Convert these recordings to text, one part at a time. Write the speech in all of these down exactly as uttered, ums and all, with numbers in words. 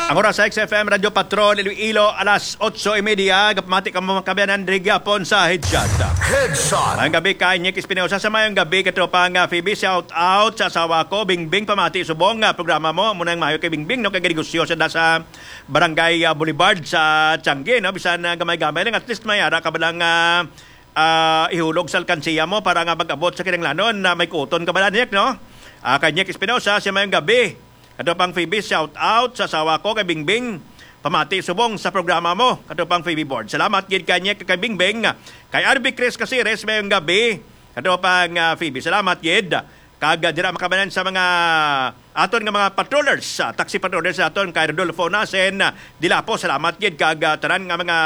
Ang oras sa X F M Radyo Patrol Iloilo, alas otso y media. Gapamati ka mo, mga kabayanan, diri gyapon sa Headshot. Headshot. Mayong gabi kay Nick Espinosa. Sa mayong gabi, katropang, ah, Phoebe, shout out sa asawa ko, Bingbing. Pamati subong nga programa mo. Muna ang mayo kay Bingbing, no, kay negosyo sa, sa Barangay, ah, Boulevard sa Tiangge, no. Bisan, ah, gamay-gamay lang, at least may ara ka ba lang, ah, ah, ihulog sa alkansiya mo para nga mag-abot sa kinahanglanon na may kuton ka ba, Nick, no? Ah, kay Nick Espinosa, sa mayong gabi. Ato pang Phoebe, shout out sa asawa ko kay Bingbing. Pamati subong sa programa mo, ato pang Phoebe Board. Salamat gid kay Nick, kay Bingbing. Kay R B Chris Casires, mayong gabi. Ato pang, ah, Phoebe, salamat gid. Kag, ah, dira makabanan sa mga aton nga mga patrollers, ah, taxi patrollers aton kay Rodolfo Nasen, ah, Dilapo, salamat gid kag, ah, tanan nga mga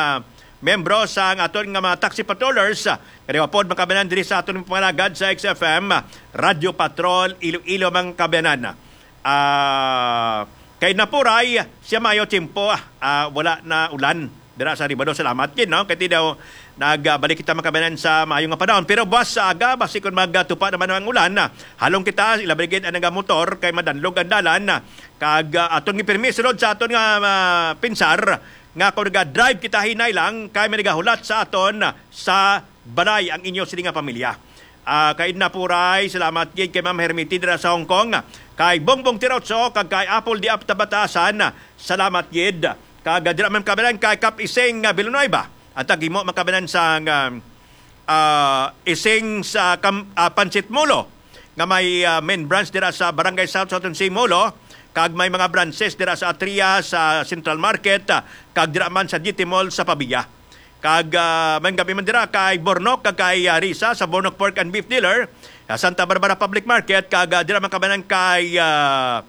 membro sa ang aton nga mga taxi patrollers, ah, nga pod makabanan diri sa aton pangalagad sa X F M, ah, Radyo Patrol Iloilo, mga kabayanan. Ah, kay Napuray, siya mayo tiyempo, ah, ah, wala na ulan dira sa Ribado. Salamat gid, no? Kay ti daw nagbalik kita makabanan sa maayo nga panahon. Pero buwas sa aga, basi kung magtupa naman ang ulan, ah, halong kita, ilabi gid ang mga motor kay madanlog ang dalan, ah, kag, ah, aton gipirmi sulod sa aton nga, ah, pinsar nga kung naga-drive kita hinay lang kay may nagahulat sa aton, ah, sa balay ang inyo sini nga pamilya. Ah, kay Edna Puray, salamat gid kay Ma'am Hermity dira sa Hong Kong. Kay Bongbong Tirotso, kag kay Apple di Apta Batasan, salamat gid. Kag dira man kabanan kay Kap Ising nga Villanueva. Ang tagimo makabanan sa, ah, ah, Ising sa kam-, ah, Pansit Molo nga may, ah, main branch dira sa Barangay South Southern Sea Molo, kag may mga branches dira sa Atria, sa Central Market, ah, kag dira man sa G T Mall sa Pavia. Kag, ah, may gabi man dira kay Bornok kag kay, ah, Risa sa Bornok Pork and Beef Dealer, sa Santa Barbara Public Market, kag, ah, dira man kabanan kay, ah,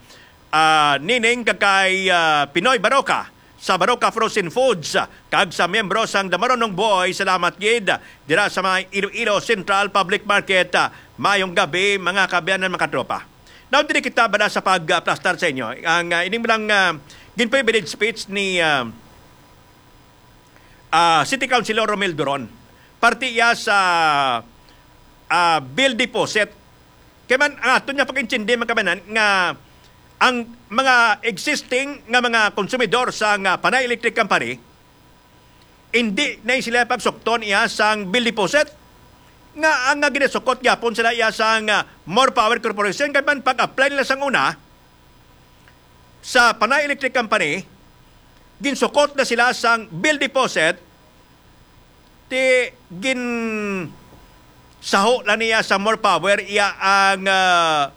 ah, Nining kag kay, ah, Pinoy Baroka sa Baroka Frozen Foods, ah, kag sa miyembro sang Damaronong Boy, salamat gid, ah, dira sa may Iloilo Central Public Market. Ah, mayong gabi, mga kaabyanan, mga katropa. Now, diri kita bala sa pagplastar sa inyo. Ang, ah, ining lang, ah, gin-privilege speech ni, ah, ah, City Councilor Romel Duron. Parte iya sa, ah, bill deposit. Kay man, ang aton nga pag-intindi, mga kabanan, nga ang mga existing nga mga konsumidor sa nga Panay Electric Company, hindi na sila pagsukton iya sang bill deposit. Nga ang nga ginasukot gyapon sila iya sang, ah, More Power Corporation, kay man pag-apply nila sang una sa Panay Electric Company, ginsukot na sila sang bill deposit, ti gin saho lang niya sa More Power iya ang, ah,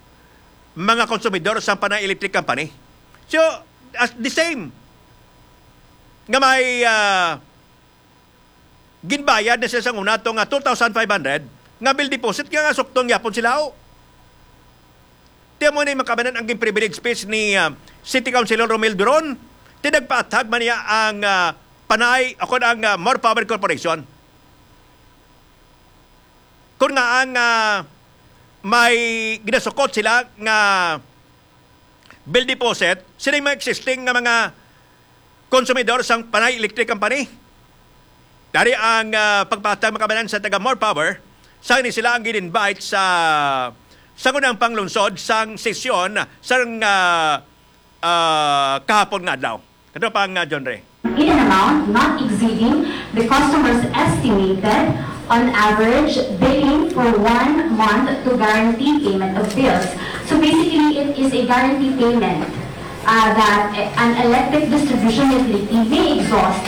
mga konsumidor sa Panay Electric Company. So, as the same nga may, ah, ginbayad na sila sa una to nga two thousand five hundred nga bill deposit nga, nga sukton gyapon sila, oh. Tiyan mo ni makabanan ang gin-privilege speech ni, ah, City Councilor Romel Duron. Tinagpaathag man niya ang, ah, Panay, ako ang, ah, More Power Corporation. Kung nga ang, ah, may ginasukot sila nga bill deposit, sila yung mga existing nga mga konsumidor sang Panay Electric Company. Dari ang, ah, pagpatag makabanan sa taga More Power, sa ni sila ang gin-invite sa, sa unang panglungsod sang sesyon sang, ah, ah, kahapon nga adlaw. Kato pa ang, ah, John Ray. In an amount not exceeding the customer's estimated on average billing for one month to guarantee payment of bills. So basically, it is a guarantee payment, uh, that an electric distribution utility may exhaust